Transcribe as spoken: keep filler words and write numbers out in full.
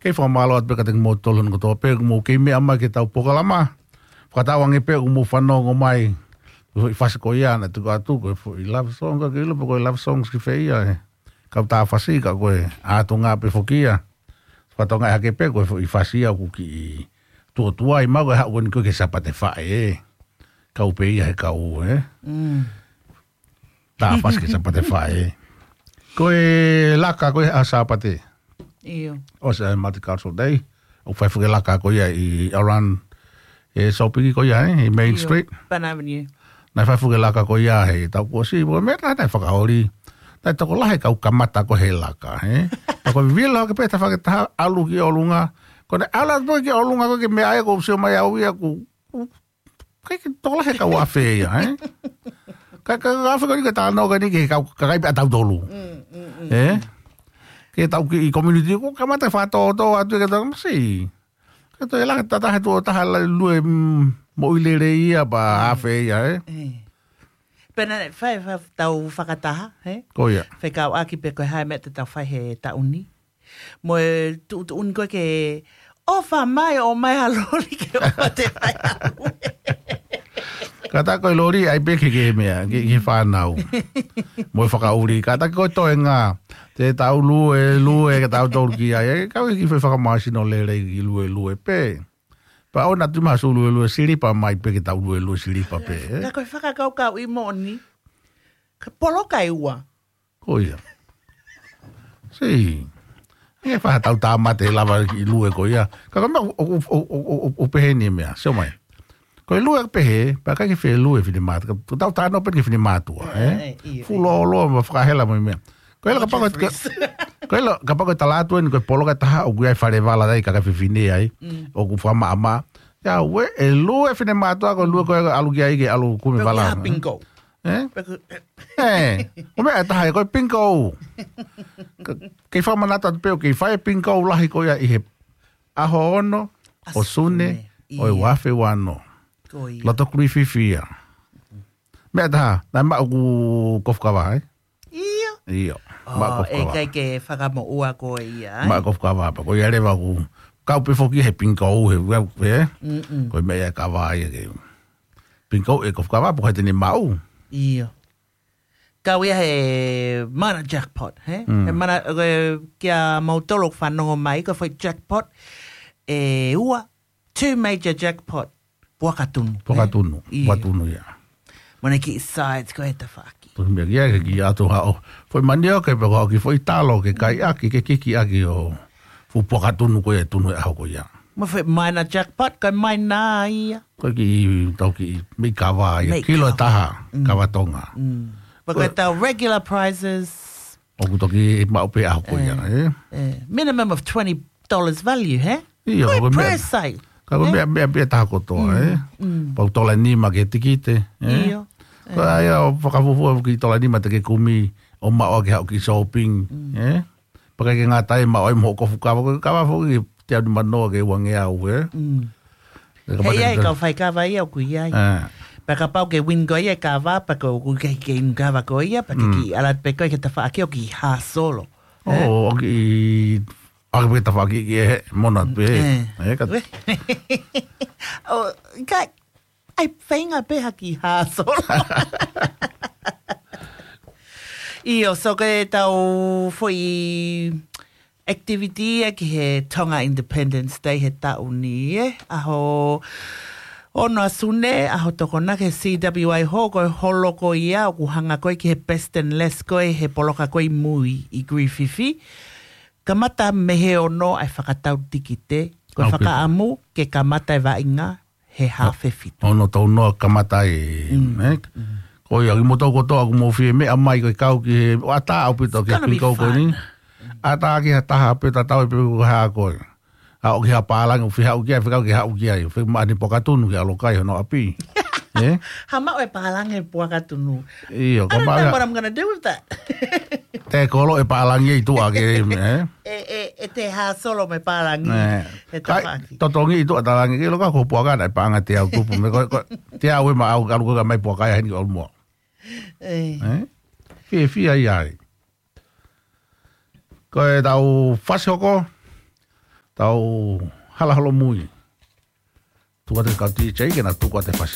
Kei fakamālō atu pē kiate kimoutolu hono kotoa pē ʻoku mou kei meʻa mai ki heʻetau polokalama. Fakatauange pē ʻoku mou fanongo mai. Ko e foʻi fasi ko ia naʻe tuku atu, ko e foʻi love song, ka ke ʻilo pē ko e love song ki fē ia ē. Kau tā fasi ka ko e ʻatunga pē foki ia. Fakatauange hake pē ko e foʻi fasi ia ʻoku kiʻi tuotuai mau ko e haʻu ko eni ko e ki he Sāpate Faʻē ē. Kau pē ia he kau ē. Mm. Tā fasi ki he Sāpate Faʻē. Ko e laka ko e ʻaho Sāpate. ʻIo. ʻOsi ʻa e Multicultural Day. ʻOku fai foki e laka ko ia ʻi around e shopping ko ia ē, ʻi Main ʻIo. Street. Pan Avenue. Naʻe fai foki e laka ko ia he taʻu kuo ʻosi, ko e meʻa tā naʻe fakaoli. Naʻe tokolahi e kau kamata ko ē he laka, ē. Tā ko e vilo hake pē tafaʻaki ʻe taha ʻalu ki ʻolunga. Ko ʻene ʻalu atu ki ʻolunga ko ē ke meʻa ai ko e sio mai au ia ʻoku ʻikai ke tokolahi e kau afe ia, ē? Ka, ka, ka afe ko eni ke tā nō ka ni ke kau, ka kai pē ʻa tautolu. Mm, mm, mm. Ē? Ke tau kiʻi community, ko e kamata fakatōtō atu ke tau masi. Ka toe laka tata he tuʻo taha la lue, mm, moʻui lelei ia pea afe ia, ē? Ē. Pea naʻe fai, fai tau fakataha, ē? Ko ia. Fekauʻaki pē ko e hā e meʻa te tau fai he taʻu ni. Mo e tuʻutuʻuni ko ē ke ʻofa mai, ʻomai ha loli ke ʻoua te fai ʻa lue. Kātaki ko e loli ʻai pē ke ke meʻa, ke, ke fānau. Mo e fakaʻuli, kātaki ko e toenga. Te tau lue, lue, ke tau tolu ki ai. Ē, kau ki fē fakamāsino lelei ki lue, lue pē. Pea ʻoua naʻa tuʻu mai ha sū lue, lue silipa mai pē ke tau lue, lue silipa pē, ē? Ka ko e fakakaukauʻi moʻoni. Ka poloka ʻe ua. Ko ia. Sī. ʻE fai ha tau tāmate lava ki lue ko ia. Ka ko e meʻa ʻoku, ʻoku, ʻoku pehē ni e meʻa. Sio mai. Ko e lue pehē, pea ʻikai ke fie lue finemātuʻa. Ka tau tā nō pē ki he finemātuʻa, ē? Ē, ē, ʻio, ʻio. Fuoloa, loa, ma fakahela mai meʻa. Ko e la kapau ko e, Jeffries. Ko e la kapau ko e tala atu eni, ko e poloka ʻe taha ʻoku ʻi ai e fale vala ai, kakai fefine ai. Mm. ʻOku fakamaʻamaʻa. Ia, ʻe lue finemātuʻa, ko e lue ko ē ʻalu ki ai ke ʻalu kumi vala. Pea ko e hā, bingo. Ē? Pea ko e Ē, ko e meʻa ʻe taha, ko e bingo. Ka, kei fakamanatu atu pē ʻoku kei fai e bingo lahi ko ia ʻi he ʻaho ono ʻo Sune, ʻo e ua afe ua ono. Ko ia. Loto Grīfifi ia. Meʻa ʻe taha, naʻe maʻu ʻeku kofu kava, ē? ʻIo. ʻIo, maʻu ʻeku kofu kava. ʻIkai ke fakamoʻua koe ia, ē? Maʻu ʻeku kofu kava, pea ko ia leva ʻoku kau pē foki he bingo, he, he, he. Mm-mm. Ko e meʻa ia kava ia ke. Bingo ʻe kofu kava, pea ko e te ne maʻu. ʻIo. Kau ia he mana jackpot, he? Mm. He mana, ē, kia moutolu ʻoku fanongo mai, ko e foʻi jackpot ʻe ua, two major jackpot, puakatunu, he? Puakatunu, ʻIo. Puakatunu ia. Mo e kiʻi sides ko e tafaʻaki. Tonu meʻa kia ke kiʻi ʻatu haʻo. Foʻi manioke pea ko e kiʻi foʻi talo ke kai ʻaki, ke kiki ʻaki ʻo fuʻu puakatunu ko ia ʻe tunu he ʻaho ko ia. Mo e foʻi minor jackpot, ko e minor ia. Ko e kiʻi, tau kiʻi, meʻi kava ia. Meʻi kava. Kilo ʻe taha, mm, kava Tonga. Mm. Pea ko e, ko e tau regular prizes. ʻOku toki maʻu pē ʻaho ko ia, ē, ē? Ē. Minimum of twenty dollars value, he? ʻIo, ko e meʻa, ko e prize sale. Ka ko e, ē? Meʻa, meʻa, meʻa taha kotoa, ē? Mm, mm. Pau tola nima ki he tikite, ē? ʻIo. Ko ia, ē, ʻo fakafuofua ki tola nima te ke kumi, ʻo maʻu ʻaki haʻo kiʻi shopping, mm, ē? Pea ʻikai ke ngata ai, maʻu ai mo hoʻo kofu kava, ko e kava foki, teau nima noa ki he uangeau, ē? Mm. He ʻi ai e kau fai kava ia ʻoku ʻi ai. Ē. Pea kapau ke win koe ia e kava, pea ko ʻoku ʻikai ke inu kava koe ia, pea ke, mm, kiʻi ʻalu atu pē koe ki he tafaʻaki ʻo kiʻi hāsolo. Ē? ʻO, ʻo kiʻi, ʻo kiʻi tafaʻaki ki he mona pē. Ē. Ē, ka- ʻO, ʻikai, ʻai feinga pē ha kiʻi hāsolo. ʻIo, so ko e tau foʻi activity ia ki he Tonga Independence Day he taʻu ni, ē? ʻAho ono ʻa Sune, ʻaho Tokonaki he C W I Hall, ko e holo ko ia ʻoku hanga ko ē ki he best and less ko ē he poloka ko ē ʻi mui ʻi Grīfifi. Kamata mei he ono ʻa e fakatau tikite, ko e, okay, fakaʻamu ke kamata e vaʻinga he haafe fitu. Ono tau noa kamata ai, mm, ē? Mm. Ko ia, kimoutolu kotoa ʻoku mou fie meʻa mai ko e kau ki he, ʻatā ʻaupito ki he bingo ko eni. It's gonna be fun. ʻAtā ki ha taha pē tatau ai pē ko e hā koe. ʻA ʻoku ʻi ai ha pālangi, ʻoku fie haʻu ki ai, fie kau ke haʻu ki ai. Fie maʻu ha kiʻi puakatunu ke ʻalu ʻo kai hono ʻapi. Ē? Ha maʻu e pālangi puakatunu. ʻIo, I don't know what I'm gonna do with that. Te kolo e pālangi ʻi tuʻa ke, ē? ʻE, ʻe, ʻe te hāsolo mo e pālangi. Ē. He kai, tafaʻaki. Totongi ʻi tuʻa talangi, ke ʻilo ka ko e puaka naʻe paʻanga teau tupu. Mei ko, ko, teau ʻe maʻau, ka ʻalu ko ē ka mai puaka ia heni ʻo ʻalu mo. Ē. Ē? Fiefia ia ai. Ko e tau fasi hoko, Tau hala holomui. Tuku atu ki he kau DJ ke na tuku atu e fasi